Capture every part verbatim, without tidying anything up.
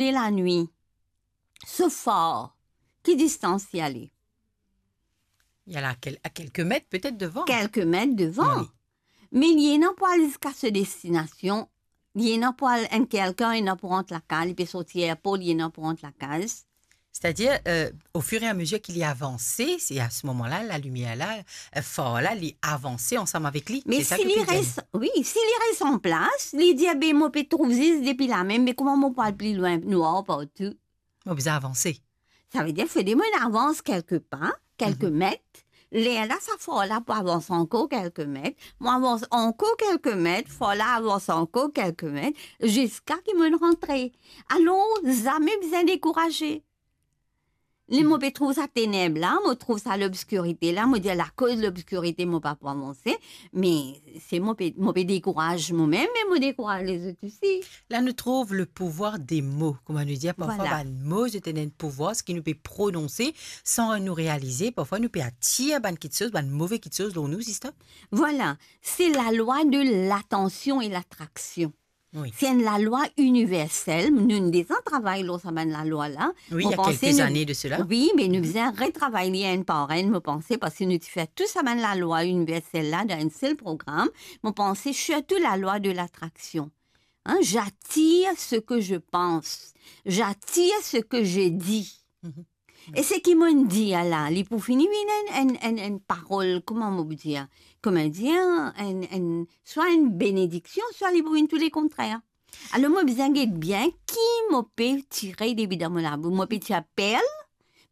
de lanwit, so far, ki distans li ale? Li al a kel-, a kelke met petet devan. Kelke met devan. Wi. Me li ena pou al ziska so destinasion, li ena pou al enn kelkan, li ena pou rant lakaz, li pe sorti erpor, li ena pou rant lakaz. Setadir, euh, au fur et à mesure ki li avanse, se a se moman la, lalimier la, euh, far la, li avanse ansam avek li. Me si li res, wi, si li res an plas, li dir, "Be, mo pe trouv zis depi la mem, me kouma mo pou al pli lwin, nwar partou?" Mo bizin avanse. Savedir, fode mo avans kelke pa, kelke met. Lerla, sa far la pou avans ankor kelke met. Mo avans ankor kelke met, far la avans ankor kelke met, ziska ki mo rantre. Alor, zame bizin dekouraze. Ler mo pe trouv sa teneb la, mo trouv sa lobskirite la, mo dir, lakoz lobskirite, mo pa pou avanse, me se mo pe, mo pe dekouraz momem, me mo dekouraz lezot osi. La, nou trouv le pouvoir des mots. Kouma nou dir, parfwa, vwala, bann mo, zot ena enn pouvwar, seki nou pe prononse san nou realize. Parfwa, nou pe atir bann kiksoz, bann move kiksoz lor nou, sister. Vwala, se lalwa de latansion e latraksion. Wi. Se enn lalwa iniversel. Nou'nn deza travay lor sa bann lalwa la. Wi, mo panse nou, wi, me nou bizin retravay li enn par enn, mo panse, parski nou ti fer tou sa bann lalwa iniversel la dan enn sel program. Mo panse sirtou lalwa de latraksion. Hein, j'attire ce que je pense. J'attire ce que je dis. Mhm. E seki mo'nn dir la, li pou fini vinn enn, enn, enn, enn parol, kouma mo pou dir? Kouma dir, enn, enn, swa enn benediksion, swa li pou vinn tou le kontrer. Alor, mo bizin get bien ki mo pe tire depi dan mo labous. Mo pe tir perl,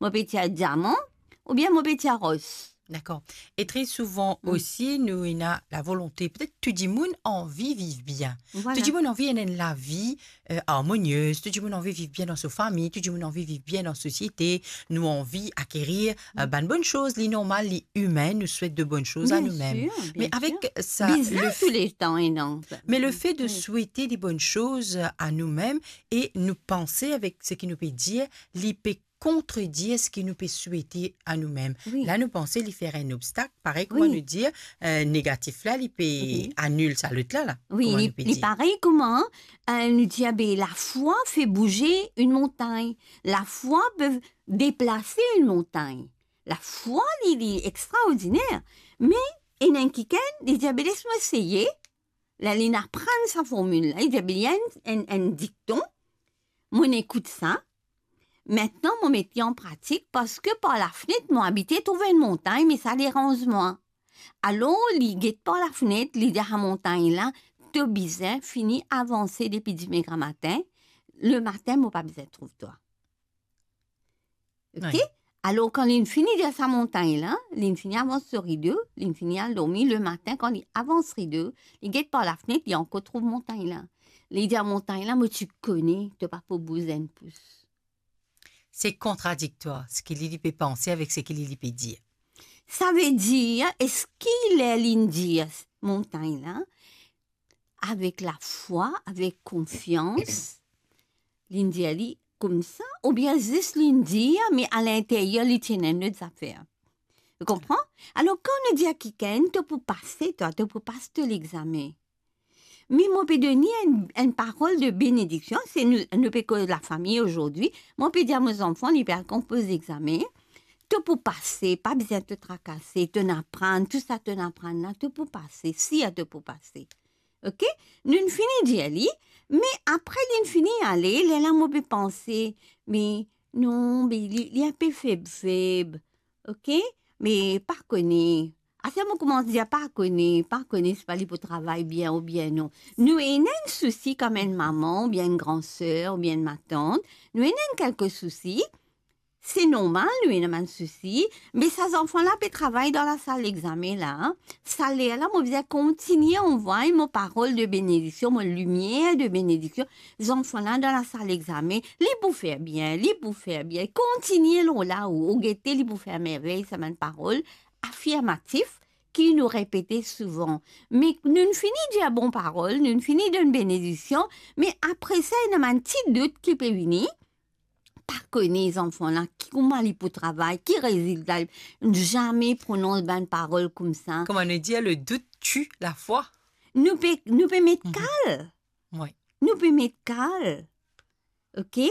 mo pe tir diaman, oubien mo pe tir ros. Dakor. E tre souvan osi, nou ena lavolonte, petet tou dimoun anvi viv bien. Vwala. Tou dimoun anvi ena enn lavi, euh, armoniez, tou dimoun anvi viv bien dan so fami, tou dimoun anvi viv bien dan sosiete, nou anvi akerir, euh, bann bonn soz, li normal, li imin, nou swet de bonn soz a noumem. Bien sir, bien sir. Me avek sa, bizin le f-, tou letan, e non. Me le fe de swete de bonn soz a noumem e nou panse avek seki nou pe dir, li pe kontredir seki nou pe swete a noumem. Wi. La, nou panse li fer enn obstak, parey kouma nou dir, euh, negatif la, li pe anil sa lot la, la. Wi, kouma li, nou pe dir. Li parey kouma, euh, nou dir, be, lafwa fer bouze enn montagn. Lafwa pe deplase enn montagn. Lafwa, li, li extraordiner. Me, ena enn kikenn, li dir, be, les mo eseye. La, linn aprann sa formil la. Li dir, be, li ena enn, enn, enn dikton. Mo'nn ekout sa. Aster, mo met li an pratik, parski par lafnet, mo abite trouv enn montagn, me sa deranz mwa. Alor, li get par lafnet, li dir a montagn la, to bizin fini avanse depi dime gramatin, lematin, mo pa bizin trouv twa. Ok? Wi. Alor, kan linn fini dir sa montagn la, linn fini avans so rido, linn fini al dormi, lematin, kan li avans rido, li get par lafnet, li ankor trouv montagn la. Li dir a montagn la, mo ti kone, to pa pou bouz enn pous. Se kontradiktwar, seki li, li pe panse avek seki li, li pe dir. Savedir, eski ler linn dir montagn la, avek lafwa, avek konfians, linn dir li koumsa, oubien zis linn dir, me a linteryer li ti ena enn lot zafer. Ou konpran? Alor, kan nou dir a kikenn, to pou pase, twa, to pou pas to lexame. Me mo pe donn li enn, enn parol de benediksion, se nou, nou pe koz lafami azordi. Mo pe dir a mo zanfan, li pe al konpoz lexame, to pou pase, pa bizin to trakase, to'nn aprann, tou sa to'nn aprann la, to pou pase, sir to pou pase. Ok? Nou'nn fini dir li, me apre linn fini ale, lerla mo pe panse, me non, be li, li enpe feb, feb. Ok? Me pa kone. Aster mo koumans dir pa kone, pa kone, sipa li pou travay bien oubien non. Nou ena enn sousi kom enn mama, oubien enn gran ser, oubien enn matant. Nou ena enn kelke sousi. Se normal, nou ena bann sousi. Me sa zanfan la pe travay dan lasal lexame la. Sa lerla, mo bizin kontigne anvoy mo parol de benediksion, mo limier de benediksion. Zanfan la dan lasal lexame, li pou fer bien, li pou fer bien. Kontigne lor la ou, ou gete, li pou fer mervey, sa bann parol afirmatif ki nou repete souvan. Me nou'nn fini dir bon parol, nou'nn fini donn benediksion, me apre sa, ena bann ti dout ki pe vini. Pa kone zanfan la, ki, kouma li pou travay, ki rezilta li, zame pronons bann parol koumsa. Kouma nou dir, le doute tue la foi. Nou pe, nou pe met kal. Wi. Nou pe met kal. oke?